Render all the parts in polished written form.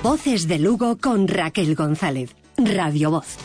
Voces de Lugo con Raquel González. Radio Voz.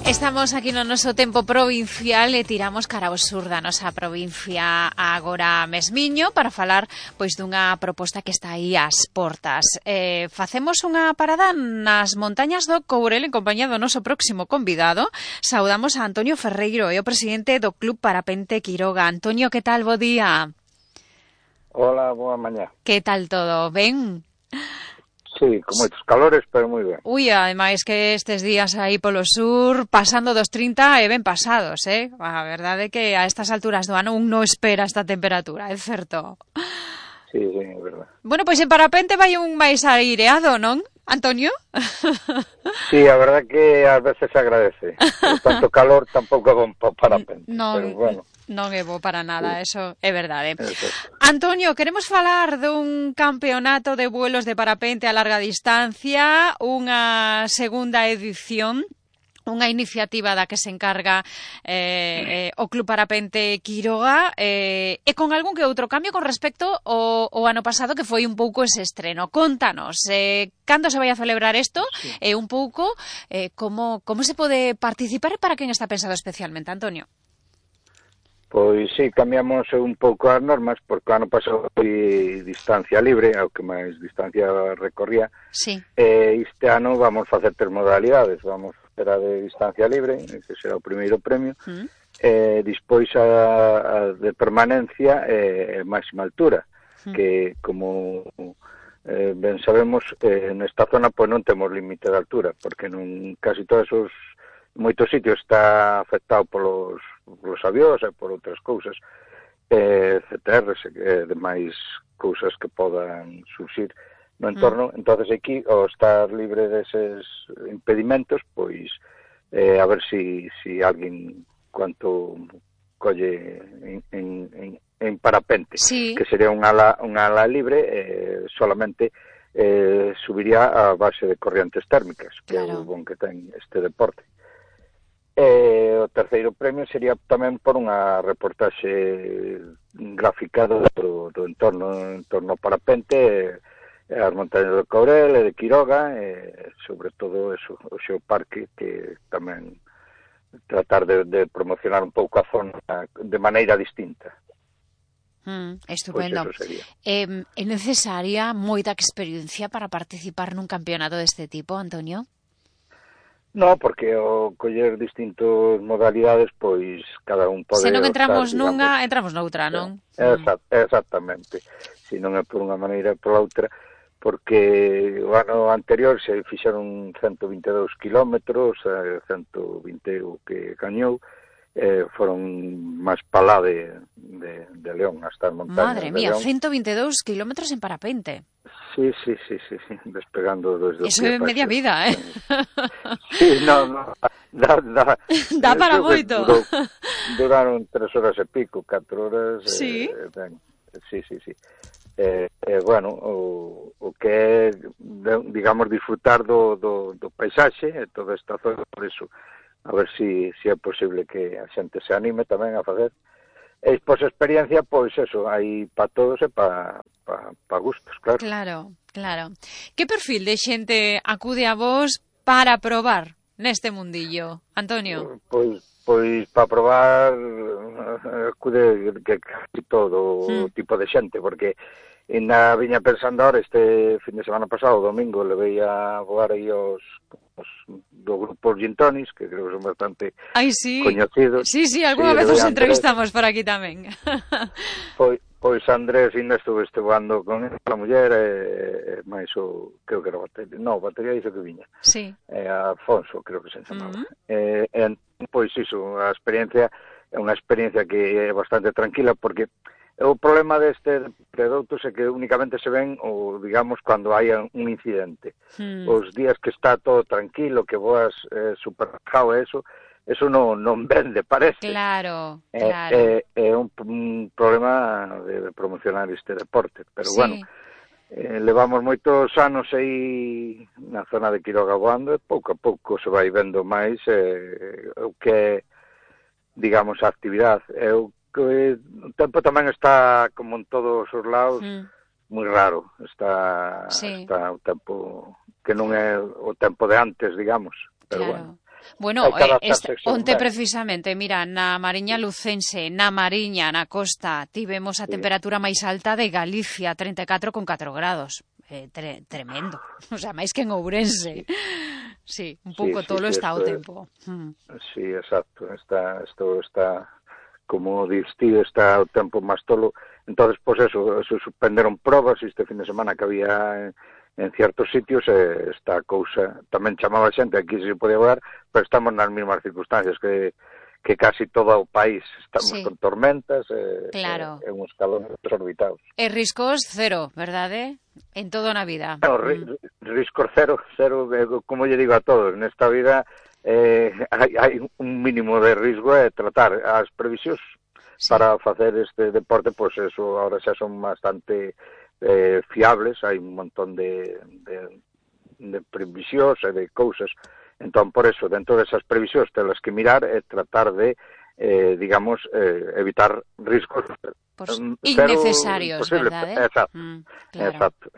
Estamos aquí no noso tempo provincial e tiramos cara ao sur da nosa provincia agora mesmiño para falar pois dunha proposta que está aí ás portas. Facemos unha parada nas montañas do Courel en compañía do noso próximo convidado. Saudamos a Antonio Ferreiro, é o presidente do Club Parapente Quiroga. Antonio, que tal? Bo día. Hola, boa mañá. Que tal todo? Ben? Sí, con moitos calores, pero moi ben. Ui, ademais que estes días aí polo sur, pasando dos 30 e ben pasados, A verdade é que a estas alturas do ano un non espera esta temperatura, é certo? Sí, é verdade. Bueno, pois en parapente vai un máis aireado, non, Antonio? Sí, a verdade que ás veces se agradece. Por tanto calor tampouco é bon para parapente, pero bueno. Non é bo para nada, sí. Eso é verdade. Eso. Antonio, queremos falar dun campeonato de vuelos de parapente a larga distancia, unha segunda edición, unha iniciativa da que se encarga o Club Parapente Quiroga e con algún que outro cambio con respecto ao ano pasado que foi un pouco ese estreno. Contanos, cando se vai a celebrar isto e un pouco como se pode participar e para quen está pensado especialmente, Antonio? Pois sí, cambiamos un pouco as normas, porque o ano pasado foi distancia libre, ao que máis distancia recorría. Sí. Este ano vamos facer 3 modalidades. Vamos facer a de distancia libre, que será o primeiro premio, despois a de permanencia e máxima altura, que como ben sabemos, nesta zona pois non temos límite de altura, porque non casi todos os moitos sitios está afectado polos avións e por outras cousas, CTRs e demais cousas que podan surxir no entorno. Entonces aquí, ao estar libre deses impedimentos, pois a ver si alguén cuanto colle en parapente, sí, que sería unha ala libre, solamente subiría a base de corrientes térmicas, que claro. é o bon que ten este deporte. O terceiro premio sería tamén por unha reportaxe gráfica do entorno ao parapente, as montañas do Courel e de Quiroga, sobre todo eso, o seu parque, que tamén tratar de promocionar un pouco a zona de maneira distinta. Estupendo. Pues é necesaria moita experiencia para participar nun campeonato deste tipo, Antonio? No, porque ao coller distintas modalidades, pois cada un pode... Se non entramos optar, nunha, digamos, entramos noutra, non? Exactamente. Se non é por unha maneira por outra, porque o ano anterior se fixeron 122 kilómetros, 120 o que gañou, foron máis palá de León, hasta as montañas. Madre mía, de León. 122 kilómetros en parapente. Sí, despegando desde eso é media vida, Sí, no, dá para moito. Duraron 3 horas e pico, 4 horas. Sí. Sí. Bueno, o que é, digamos, disfrutar do paisaxe e toda esta zona, por iso, a ver si é posible que a xente se anime tamén a facer. E pois experiencia, pois eso, hai para todos e para gustos, claro. Claro. Que perfil de xente acude a vos para probar neste mundillo, Antonio? Pois para probar acude que casi todo tipo de xente, porque ainda viña pensando ahora, este fin de semana pasado, domingo, levei a voar aí os do grupo Gintonis, que creo que son bastante coñecidos. Sí, algunha vez os entrevistamos por aquí tamén. Pois Andrés ainda estuve voando con a muller e máis creo que era batería dice que viña. Sí. Afonso, creo que se chamaba. Pois iso, a experiencia é unha experiencia que é bastante tranquila, porque o problema deste produtos é que únicamente se ven, digamos, cando hai un incidente. Os días que está todo tranquilo, que voas super relajado, eso non vende, parece. Claro. É un problema de promocionar este deporte, pero sí. Bueno, levamos moitos anos aí na zona de Quiroga voando e pouco a pouco se vai vendo máis o que é, digamos, a actividade. O tempo tamén está, como en todos os lados, moi raro, está o tempo que non é o tempo de antes, digamos, pero claro. Bueno, onte precisamente, mira, na Mariña Lucense, na Mariña, na costa, tivemos a temperatura máis alta de Galicia, 34,4 grados. Tremendo. O sea, máis que en Ourense. Sí, un pouco tolo está o tempo. Sí, exacto. Isto está, como distío, está o tempo máis tolo. Entonces, pois eso, suspenderon probas este fin de semana que había en ciertos sitios, esta cousa tamén chamaba xente, aquí se podía voar, pero estamos nas mesmas circunstancias que casi todo o país, estamos con tormentas, claro. e uns calores desorbitados. E riscos cero, verdade? En todo na vida. No, riscos cero, como lle digo a todos, nesta vida hai un mínimo de risco, tratar as previsións para facer este deporte, pois eso, ahora xa son bastante fiables, hai un montón de previsións e de cousas, entón por eso dentro desas previsións telas que mirar e tratar de digamos evitar riscos innecesarios, verdade? Exacto, claro. Exacto,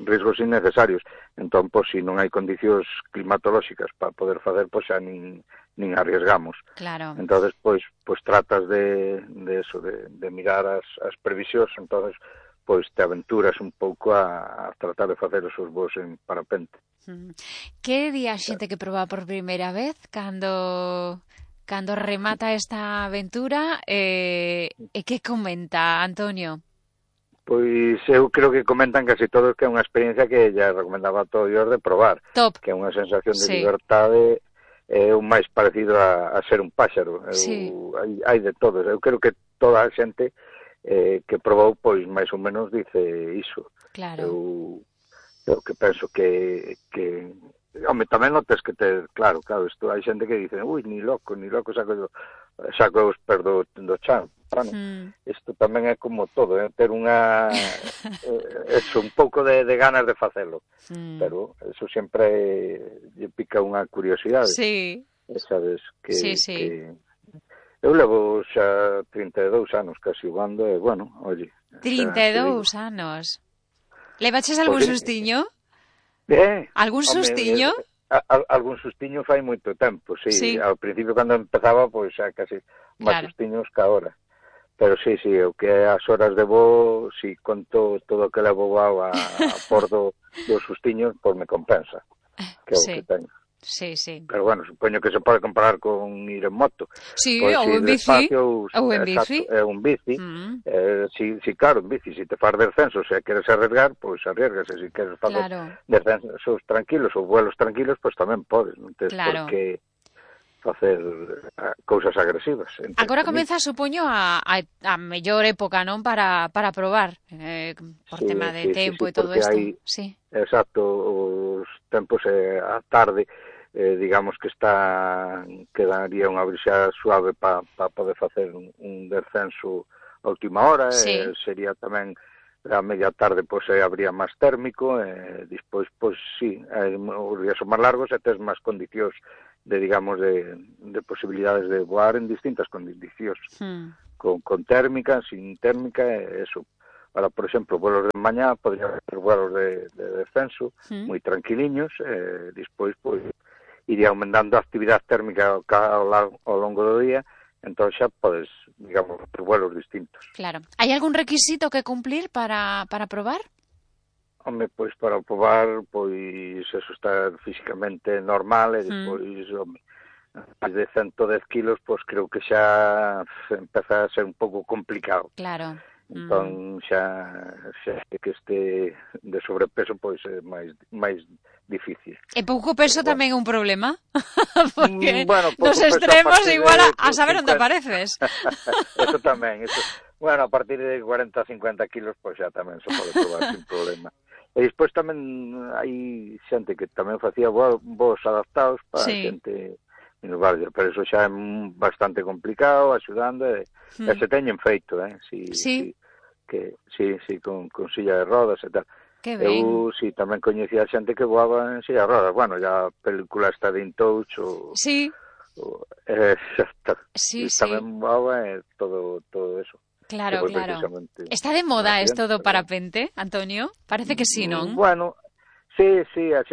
riscos innecesarios. Entón, pois, se non hai condicións climatolóxicas para poder facer, pois xa nin arriesgamos. Claro. Entonces, pois tratas de eso, de mirar as previsións, entonces pois te aventuras un pouco a tratar de facer os seus voos en parapente. Que di a xente que proba por primeira vez cando remata esta aventura e que comenta, Antonio? Pois eu creo que comentan casi todos que é unha experiencia que ya recomendaba a todos de probar. Top. Que é unha sensación de libertade, é o máis parecido a ser un páxaro. Hai de todos. Eu creo que toda a xente que probou, pois, máis ou menos dice iso. Claro. Eu que penso que home, tamén notes que claro, isto hai xente que dice, ui, ni loco, saco os pés do chan. Bueno, isto tamén é como todo, ter unha un pouco de ganas de facelo, pero eso sempre lle pica unha curiosidade. Sí. Sabes que eu levo xa 32 anos casi voando e, bueno, oye... 32 anos. Levaches algún sustiño? Algún sustiño? Algún sustiño fai moito tempo, sí. Ao principio, cando empezaba, pois xa casi máis sustiños que agora. Pero sí, o que é as horas de voo, si conto todo o que levo voado a bordo dos sustiños, pois me compensa, que é o que teño. Sí. Pero bueno, supoño que se pode comparar con ir en moto. Sí, ou en bici. Ou en bici. É un bici. Si, claro, en bici, se te faz descenso, se queres arriesgar, pois arriesgas. Se queres facer descensos tranquilos ou vuelos tranquilos, pois tamén podes. Non tens por que facer cousas agresivas. Agora comeza, supoño, a mellor época, non? Para probar, por tema de tempo e todo isto. Exacto, os tempos a tarde, digamos que quedaría unha brisa suave para poder facer un descenso a última hora, sería tamén a media tarde, pois habría máis térmico, despois, pois sí, os días son máis largos e tes máis condicións de posibilidades de voar en distintas condicións, con térmica, sin térmica, eso. Ahora, por exemplo, vuelos de mañá, podría haber vuelos de descenso, moi tranquiliños, despois, pois, iría aumentando a actividade térmica ao longo do día, entón xa podes, digamos, ter vuelos distintos. Claro. Hai algún requisito que cumplir para probar? Home, pois para probar, pois eso está físicamente normal e despois, home, máis de 110 kilos, pois creo que xa empeza a ser un pouco complicado. Claro. Entón xa que este de sobrepeso, pois é máis difícil. E pouco peso tamén é un problema? Porque nos extremos igual a saber onde apareces. Eso tamén, bueno, a partir de 40-50 kilos, pois xa tamén se pode probar sin problema. E despois tamén hai xente que tamén facía voos adaptados para xente minusválida, pero eso xa é bastante complicado, axudando, e se teñen feito, sí, con silla de rodas e tal. Eu tamén coñecía xente que voaba en silla de rodas. Bueno, ya a película está de In Touch tamén voaba todo eso. Claro, claro. Está de moda isto do parapente, Antonio? Parece que sí, non? Bueno, sí, a